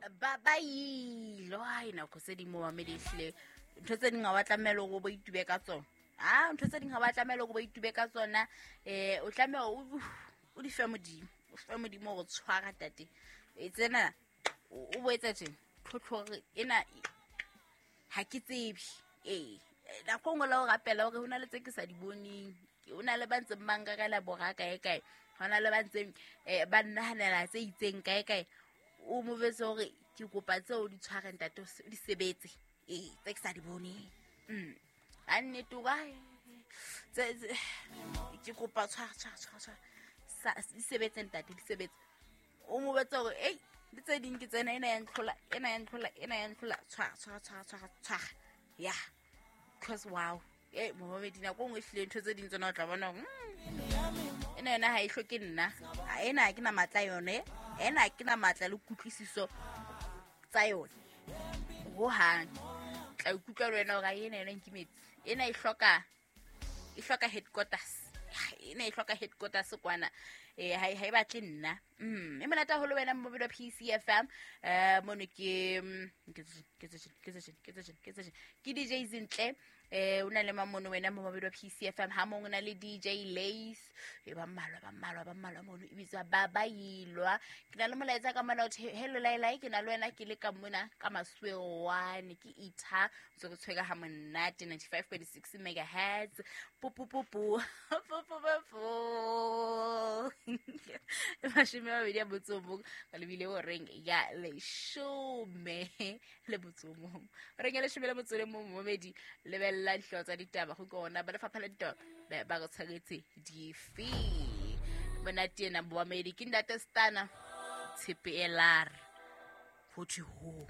Ba ba ilo ai nako tse ding mo mamedi ehlile ntho tse ding ga wa tlamela gore o bo itube ka tsona. A ntho tse ding ga wa tlamela gore o bo itube ka tsona, o tlameha o di fe Modimo, o fe Modimo gore tshwara tate. E tsena o bo etsa tjena tlhotlhore ena ha ke tsebe. Ee, nako nngwe la o rapela gore ho na le tse ke sa di boneng, ho na le ba ntseng ba nkarela bora kae kae, ho na le ba ntseng ba nnahanela tse itseng kae kae. O mo jwetse hore ke kopa tseo di tshware ntate, o di sebetse. Ee, tse ke sa di boneng. A nnete o ka tse ke kopa tshwara, tshwara, tshwara, tshwara. Sa, di sebetse ntate, di sebetse. O mo jwetse hore, ei, le tse ding ke tsena, ena ya ntlhola, ena ya ntlhola, ena ya ntlhola. Tshwara, tshwara, tshwara, tshwara, tshwara. Yeah. Because wow. Momamedi, nako nngwe ehlile ntho tse ding tsona o tla bona hore, ena yona ha e hloke nna. Ha ena ha ke na matla yone. Ena ha ke na matla le kutlwisiso tsa yone. Hohang. Tla ikutlwa le wena hore ha ena yona nkimetse. Ena e hloka headquarters. Ena e hloka headquarters kwana. Ha e batle nna. E monate haholo wena momamedi wa PCFM. Mono ke, ke tse, ke tse, ke tse, ke tse, ke tse, ke DJ Zintle. O na le mamono wena momamedi wa PCFM, ha mong o na le DJ Lace. Ba mmalwa, ba mmalwa, ba mmalwa mono e bitswa ba ba ilwa. Ke na le molaetsa ka mona o the, hello lai lai, ke na le wena ke le ka mona ka Masuewane, ke itha ntse re tshwere ha monate 95.6 megahertz. Pu, pu, pu, pu. Pu, pu, pu, pu. 28 ka lebile horeng ya leshome le motso o mong. Horeng ya leshome le motso o le mong, momamedi, lebella dihlooho tsa ditaba go ke ona ba lefapha la ditaba ba re tshwaretse dife. Monate ena momamedi ke ntate Stana Tshepe Elar. Ho thwe ho.